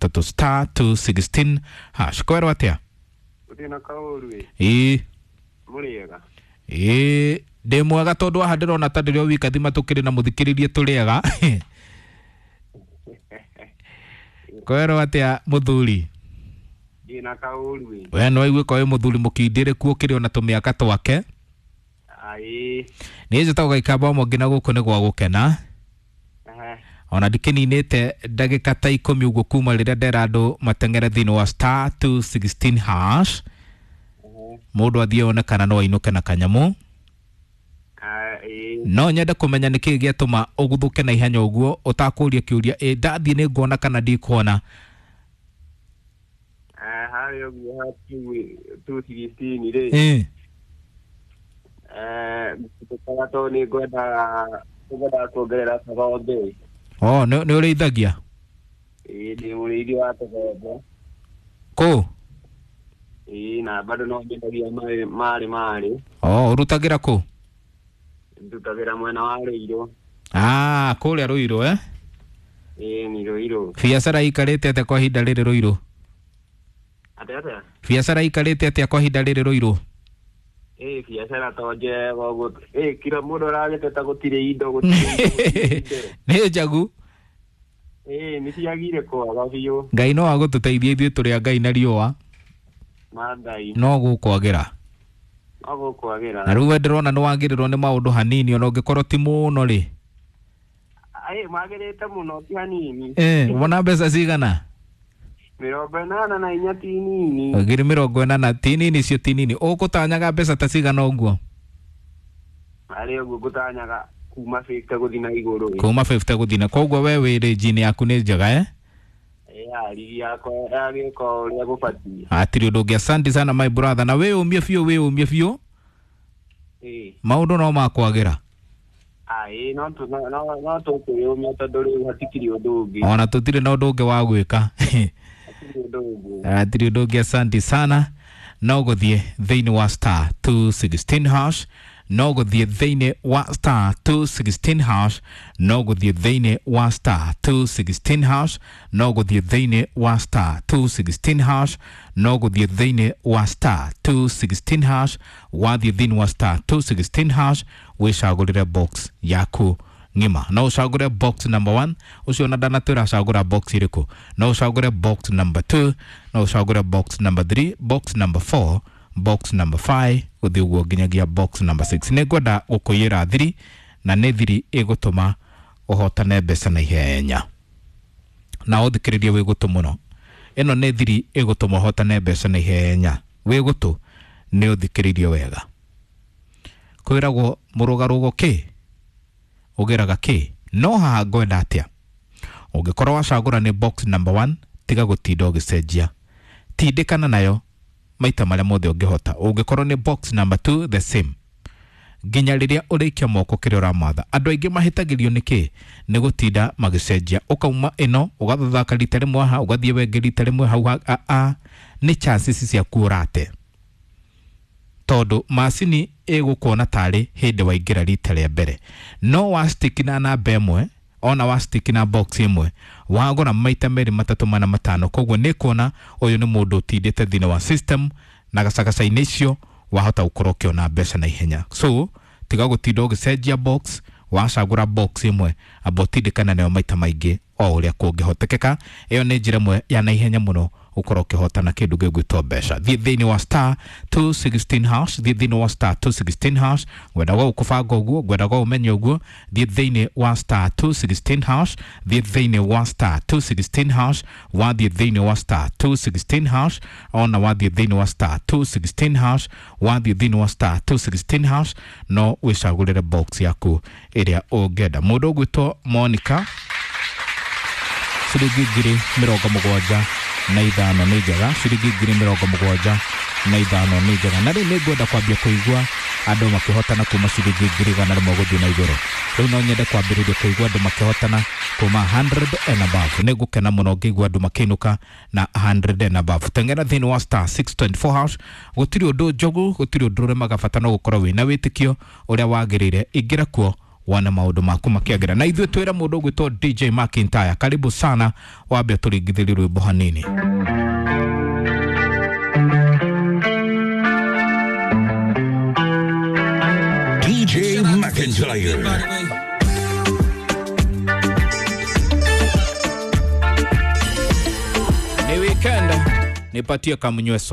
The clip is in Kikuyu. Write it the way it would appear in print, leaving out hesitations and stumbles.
matatũ, star 216 hash. Kwerwo atĩa? Gũtirĩ na kaũru ĩ. Ĩĩ. Mũrĩega? Ĩĩ, ndĩ mwega, tondũ haha ndĩrona ta ndĩrĩ o wika thima tũkĩrĩ na mũthikĩrĩrie tũrĩega. Kwerwo atĩa, mũthuri? Ndĩ na kaũru ĩ. We no aigue ko wĩ mũthuri mũkindĩrĩku, ũkĩrĩ ona tũmĩaka twake. Aĩ. Niĩ njĩtagwo Gaikamba Mwangi, na gũkũ nĩ gwa gũkena. Ona ndikĩninĩte ndagĩka ta 10 ũguo kuma rĩrĩa ndera andũ mateng'ere thĩinĩ wa star 216 hash. Mũndũ athiĩ one kana no ainũke na kanyamũ. Aĩ. No nyende kũmenya nĩkĩĩ gĩatũma ũguthũke na ihenya ũguo ũtakũria kĩũria, ĩ ndathiĩ nĩ nguona kana ndikuona? Harĩa ũguo ha 216 rĩ. Ngũkaga tondũ nĩ ngwendaga kuongerera tũgombe. O nĩ ũrĩithagia? Ĩĩ, ndĩ mũrĩithi wa tũgombe. Kũ? Ĩĩ, na bado no nyendagia marĩ marĩ marĩ. O ũrutagĩra kũ? Ndutagĩra mwena wa Rũirũ. Ah, kũrĩa Rũirũ, eh? Ĩĩ, nĩ Rũirũ. Biacara ikarĩte atĩa kwa ihinda rĩrĩ Rũirũ? Atĩa atĩa? Biacara ikarĩte atĩa kwa ihinda rĩrĩ Rũirũ? Ĩĩ, biacara to njega ũguo. Ĩĩ, kila mũndũ aragĩteta gũtirĩ indo, gũtirĩ indo, gũtirĩ indo. Nĩ njagu. Ĩĩ, nĩ ciagire kwaga biũ. Ngai no agũtũteithia, ithuĩ tũrĩ a Ngai na riũa. Ma Ngai. No gũkwagĩra. No gũkwagĩra. Na rĩu we ndĩrona nĩ wagĩrĩrwo nĩ maũndũ hanini, ona ũngĩkorwo ti mũno rĩ. Ĩĩ, magĩrĩte mũno, ti hanini. Wona mbeca cigana? 84 ti nini. 80,000 ti nini, icio ti nini. Ũgũtanyaga mbeca ta cigana ũguo? Harĩ ũguo ngũtanyaga kuma 50 gũthiĩ na igũrũ ĩ. Kuma 50 gũthiĩ na koguo we wĩ rĩnji-inĩ yaku nĩ njega, eh? Ĩĩ, rigi yakwa yagĩka ũrĩa gũbatiĩ. Hatirĩ ũndũ ũngĩ. Asante sana, my brother, na wĩyũmie biũ, wĩyũmie biũ. Ĩĩ. Maũndũ no makwagĩra. Ĩĩ, no tũkwĩyũmia tondũ rĩu hatikĩrĩ ũndũ ũngĩ. Ona tũtirĩ na ũndũ ũngĩ wa gwĩka. Hatirĩ ũndũ ũngĩ. Hatirĩ ũndũ ũngĩ. Asante sana. No gũthiĩ thĩinĩ wa star 216 hash, no gũthiĩ thĩinĩ wa star 216 hash, no gũthiĩ thĩinĩ wa star 216 hash, no gũthiĩ thĩinĩ wa star 216 hash, no gũthiĩ thĩinĩ wa star 216 hash. Wathiĩ thĩinĩ wa star 216 hash, wĩcagũrĩre box yaku ng'ima. No ũcagũre box number 1, ũcio ona ndanatwĩra acagũra box ĩrĩkũ. No ũcagũre box number 2, no ũcagũre box number 3, box number 4, box number 5, gũthiĩ ũguo nginyagia box number 6. Nĩ ngwenda gũkũiyĩra thiri, na nĩ thiri ĩgũtũma ũhotane mbeca na ihenya, na ũthikĩrĩrie wĩ gũtũ mũno. Ĩno nĩ thiri ĩgũtũma ũhotane mbeca na ihenya. Wĩ gũtũ nĩ ũthikĩrĩrie wega. Kwĩragwo mũrũgarũgo kĩ ũgeraga kĩ, no haha ngwenda atĩa? Ũngĩkorwo wacagũra nĩ box number 1, tiga gũtinda ũgĩcenjia, tindĩkana nayo maita marĩa mothe ũngĩhota. Ũngĩkorwo nĩ box number 2, the same, nginya rĩrĩa ũrĩikia moko kĩrĩa ũramatha. Andũ aingĩ mahĩtagĩrio nĩ kĩ? Nĩ gũtinda magĩcenjia, ũkauma ĩno ũgathathaka rita rĩmwe haha, ũgathiĩ wengĩ rita rĩmwe hau a nĩ chances ciaku ũrate, tondũ macini ĩgũkuona tarĩ hĩndĩ waingĩra rita rĩa mbere. No wa stick na namba ĩmwe, ona wa stick na box ĩmwe, wagũra maita merĩ, matatũ, mana, matano, koguo nĩ kuona ũyũ nĩ mũndũ ũtindĩte thĩinĩ wa system, na gacagaca-inĩ icio wahota gũkorwo ũkĩona mbeca na ihenya. So tiga gũtinda ũgĩcenjia box. Wacagũra box ĩmwe, amba ũtindĩkana nayo maita maingĩ o ũrĩa kũngĩhotekeka. Ĩyo nĩ njĩra ĩmwe ya na ihenya mũno ũkorwo ũkĩhotana kĩndũ gĩgwĩtwo mbeca. Thiĩ thĩinĩ wa star 216 hash, thiĩ thĩinĩ wa star 216 hash. Ngwendaga gũkũbanga ũguo, ngwendaga ũmenye ũguo. Thiĩ thĩinĩ wa star 216 hash, thiĩ thĩinĩ wa star 216 hash. Wathiĩ thĩinĩ wa star 216 hash, ona wathiĩ thĩinĩ wa star 216 hash, wathiĩ thĩinĩ wa star 216 hash, no wĩcagũrĩre box yaku ĩrĩa ũngĩenda. Mũndũ ũgwĩtwo Monica, ciringi 75,000 nĩ njega, ciringi 75,000 nĩ njega. Na rĩu nĩ ngwenda kwambia kũigua andũ makĩhotana kuma ciringi 100,000 gũthiĩ na igũrũ. Rĩu no nyende kwambĩrĩria kũigua andũ makĩhotana kuma 100 and above. Nĩ ngũkena mũno ngĩigua andũ makĩinũka na 100 and above. Teng'era thĩinĩ wa star 624 hash. Gũtirĩ ũndũ njogu, gũtirĩ ũndũ ũremaga, bata no gũkorwo wĩna wĩtĩkio ũrĩa wagĩrĩire. Ingĩra kuo. wana maundu maku makiagira na ithuĩ twĩra mũndũ ũgwĩtwo DJ McIntyre karibu sana wambe tũringithĩrie rwĩmbo hanini. DJ McIntyre. Ni weekend, nipatie kamnyweso.